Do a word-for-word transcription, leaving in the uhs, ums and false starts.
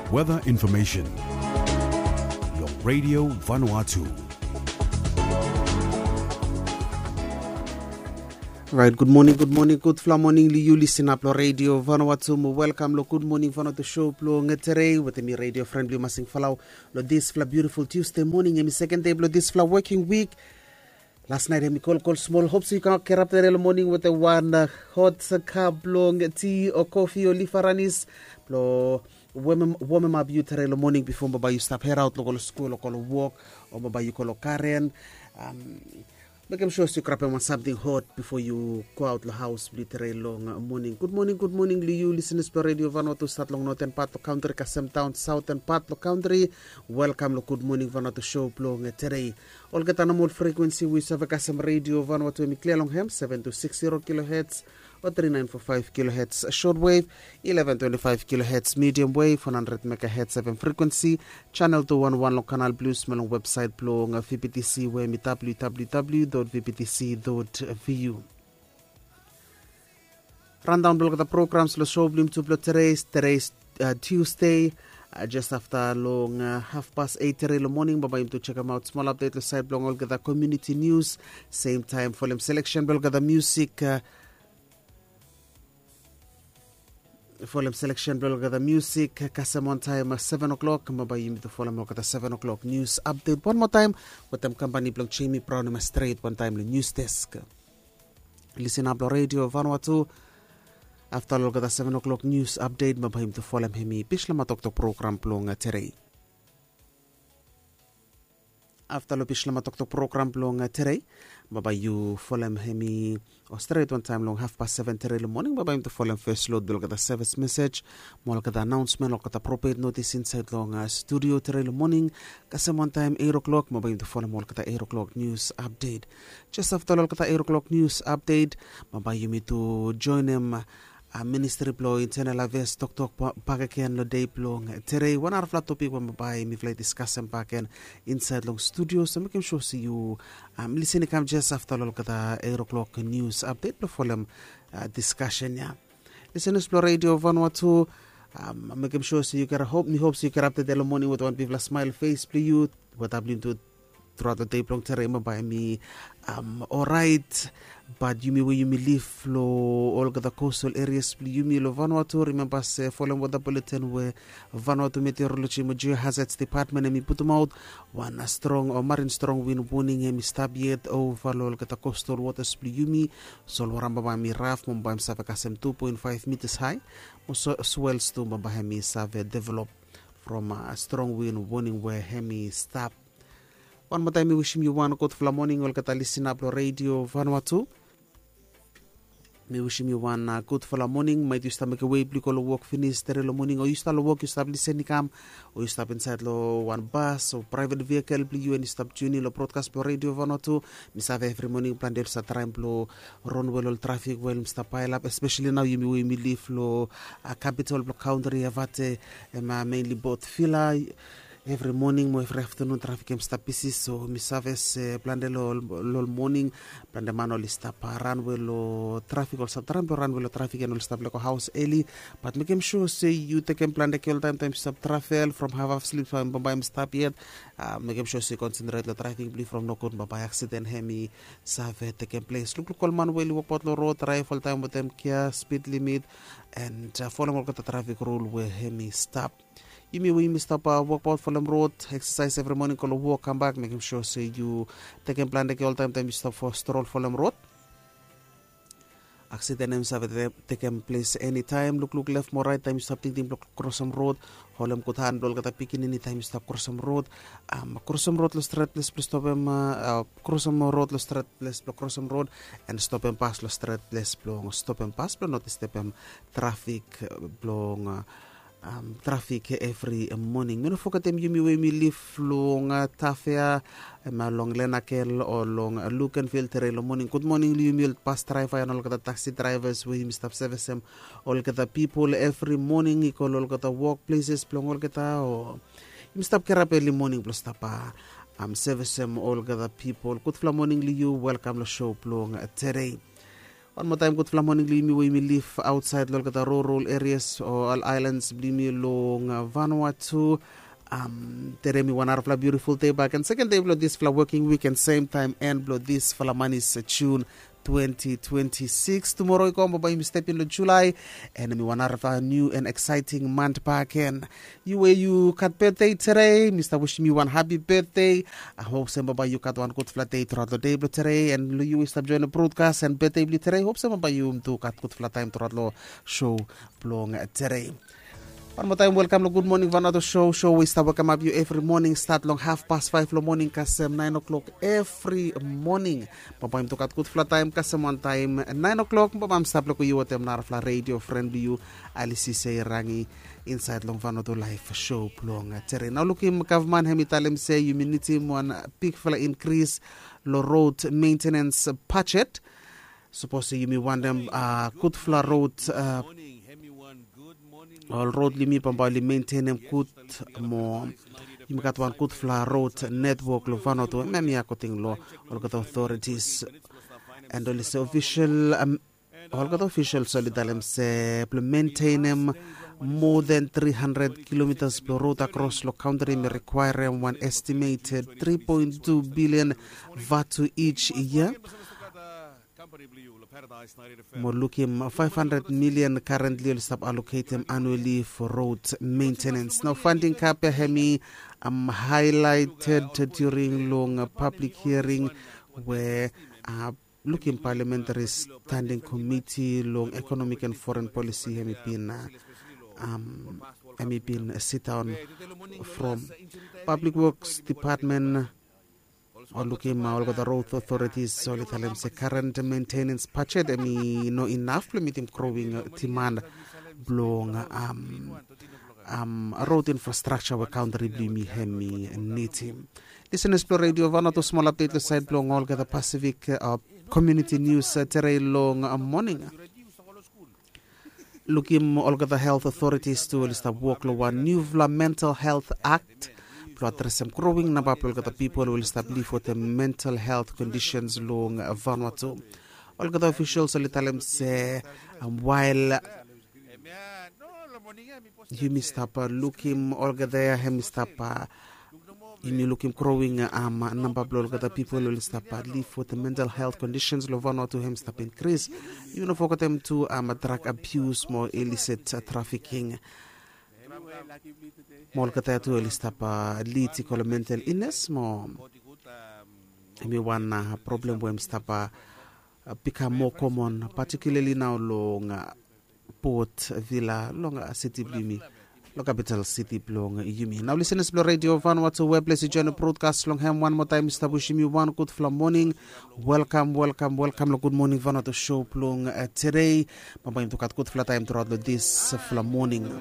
Weather information. Long Radio Vanuatu. Right, good morning, good morning, gudfala moning long yu lisin ap long Radio Vanuatu. Mo welkam long Good Morning Vanuatu show blong tere wetem mi radio friend blong yu Masing Falau. Long disfala beautiful Tuesday morning, hemi second day blong disfala working week. Las nait hemi kolkol smol. Hope so yu kam kerap tere long moning wetem wan uh, hot cup blong ti o kofi o lifaranis blong womem womem ap yu tere long moning bifo bambae yu stap heraot long go long skul o go long wok o bambae yu go long garen. Um, mekem sua se yu grabem wan samting hot bifo yu go aot long haos blong yu tere long uh, moning. Gud moning, gud moning long yu lisenas blong Radio Vanuatu stat long noten pat long kantri kasem daon saoten pat long kantri. Welkam long Gud Moning Vanuatu show blong uh, tere. Olgeta nomol frekuensi we yu save kasem Radio Vanuatu hemi klia long hem seven two six zero kilohertz o three nine four five kilohertz short wave, eleven twenty-five kilohertz medium wave, one hundred megahertz F M frequency, channel two one one long Canal Plus mo long website blong uh, V B T C we hemi W W W dot V B T C dot V U. Rundown blong olgeta programs long show blong yumi tu blong tere, tere uh, Tuesday. Uh, just afta long uh, half past eight tere long moning bambae yumi tu chekemaot smol update long sait blong olgeta community news. Same time folem selection blong olgeta music uh, folem selection blong olgeta music kasem on time uh, seven o'clock. Bambae yumi tu folem olgeta seven o'clock news update wan moa taem wetem kampani blong Jamie Brown hemi stret wan taem long news desk. Lisin ap long Radio Vanuatu. Afta long olgeta seven o'clock news update bambae yumi tu folem hemi Bislama Toktok program blong tere. Afta long Bislama Toktok program blong tere bambae yu folem hemi o stret wan taem long half past seven tere long moning bambae yumi tu folem fes lod blong olgeta sevis mesej mo olgeta anaonsmen olgeta propet notis insaet long uh, studio tere long moning. Kasem wan taem eight o'clock bambae yumi tu folem olgeta eight o'clock news update. Jes afta long olgeta eight o'clock news update bambae yumi tu joenem uh, ministri blong Internal Affairs toktok bakegen long dei blong tere. Wan narafala topik we bambae mifala i diskasem bakegen insaet long studio so mekem sua se yu um, lisin i kam jes afta long olgeta eight o'clock news update blong folem uh, diskasen ya. Lisenas blong Radio Vanuatu, um, mekem sua se yu gat hop mi hop se yu gat update long moning wetem wan bigfala smael fes blong yu. Wetem yumi tu truaot long dei blong tere bambae hemi um, orait. Bat yumi we yumi liv long olgeta coastal areas blong yumi long Vanuatu, rimemba se folem weather bulletin we Vanuatu Meteorology mo Geohazards Department hemi putumaot, wan strong o marin strong wind warning hemi stap yet ova long olgeta coastal waters blong yumi. Solwara bambae hemi raf mo bambae hemi save kasem two point five meters hae mo swells tu bambae hemi save develop from a strong wind warning we hemi stap. Wan moa taem mi wisim yu wan gudfala moning olgeta lisin ap long Radio Vanuatu. Mi wisim yu wan uh, gudfala moning maet yu stap mekem wei blong yu go long wok finis tere long moning o yu stap long wok yu stap lisin i kam o yu stap insaet long wan bas o praevet vehikel blong yu and yu stap tiuni long brodkas blong Radio Vanuatu. Mi save evri moning plante oli stap traem blong ronwel ol trafik we oli stap paelap espeseli nao yumi we yumi liv long uh, kapitol blong kantri evate. Em uh, mainli bot vila. Evri moning mo evri aftanun trafik hemi stap bisi so mi save se plante long ol moning plante man oli stap ranwe long trafik oli stap traem blong ranwe long trafik and oli stap lego haos eli. Bat mekem sua se yu tekem plante ke oltaem taem yu stap travel from hafhaf slip taem bambae hemi stap yet. Mekem sua se yu konsentrate long driving blong yu from nogut bambae aksiden hemi save tekem ples. Lukluk ol man we oli wokbaot long rod, draev oltaem wetem gia spid limit and folem olgeta trafik rul we hemi stap. Yumi we yumi stap wokbaot folem rod, eksasaes evri moning, go long wok kambak, mekem sua se yu tekem plante ke oltaem taem yu stap fo strol folem rod. Aksiden hemi save tekem ples enitaem. Lukluk lef mo raet taem yu stap tingting blong krosem rod. Holem gud han blong olgeta pikinini taem yu stap krosem rod. Krosem rod long stret ples blong stopem, krosem rod long stret ples blong krosem rod and stopem bas long stret ples blong stopem bas blong no distebem trafik blong trafik evri moning. Mi no fogetem yumi we yumi liv long Tafea, long Lenakel o long Lukenvil tere long moning. Gud moning long yumi ol bas draeva and olgeta taksi draevas we yumi stap sevesem olgeta pipol evri moning i go long olgeta wok pleses blong olgeta o yumi stap kirap eli moning blong stap sevesem olgeta pipol. Gudfala moning long yu, welkam long sou blong tere. Wan moa taem gudfala moning blong yumi we yumi liv aotsaed long olgeta rural areas o ol aelans blong yumi long Vanuatu. Tere mi wan narafala biutiful dei bak gen, seken dei blong disfala woking wik en semtaem en blong disfala manis Jun twenty twenty-six. Tumoro i go bambae yumi step in long Julae, en mi wan narafala niu en eksaeting mant bak gen. Yu we yu gat betde tere, mi stap wisim yu wan hapi betde. Hop se bambae yu gat wan gudfala dei truaot long dei blong tere, en long yu we yu stap joen long brodkas en betde blong tere, hop se bambae yu tu gat gudfala taem truaot long sho blong tere. Wan moa taem welkam long Gud Moning Vanuatu sho, sho we i stap wekemap yu evri moning stat long hafpas faef long moning kasem naen o'klok evri moning. Bambae yumi tu gat gudfala taem kasem wan taem naen o'klok, bambae mi stap lukim yu wetem narafala redio fren blong yu, Alisi Seirangi, insaed long Vanuatu Laef sho blong tere. Nao lukim gavman hem i talem se yumi nidim wan bigfala inkris long rod mentenens bajet. Sapos yumi wantem gudfala rod, ol rod blong yumi bambae oli mentenem gud mo yumi gat wan gudfala rod netwok long Vanuatu, hemia akoding long olgeta otoritis. En oli se ofisel, olgeta ofisels oli talem se blong mentenem moa than three hundred kilometres blong rod akros long kantri hemi rikwaerem wan estimeted three point two billion vatu each year. Mo lukim five hundred million currently oli stap aloketem annually for road maintenance. Nao fanding kap ya hemi haelaeted during long public hearing we lukim Parliamentary Standing Committee long Economic and Foreign Policy hemi bin hemi bin sidaon from Public Works Department. Ol lukim olgeta road authorities oli talem se current maintenance budget hemi no inaf blong mitim growing demand blong road infrastructure we kantri blong yumi hemi nidim. Lisenas blong redio Vanuatu, smol update long saed blong olgeta Pacific community news tere long moning. Lukim olgeta health authorities tu oli stap wok long wan niufala Mental Health Act blong adresem growing namba blong olgeta pipol we oli stap liv wetem mental health conditions long Vanuatu. Olgeta officials oli talem se wael yumi stap lukim olgeta ya hemi stap yumi lukim growing namba blong olgeta pipol oli stap liv wetem mental health conditions long Vanuatu hemi stap inkris. Yumi no fogetem tu drug abuse mo illicit trafficking. Mo olgeta ya tu oli stap lid i go long mental illness mo hemi wan problem we hemi stap bikam moa komon, patikulali nao long Port Vila long siti blong yumi, long kapital siti blong yumi. Nao lisenas blong redio Vanuatu we ples i joen brodkas long hem, wan moa taem mi stap wisim yu wan gudfala moning. Welkam, welkam, welkam long Gud Moning Vanuatu sho blong tede. Bambae yumi tu gat gudfala taem truaot long disfala moning.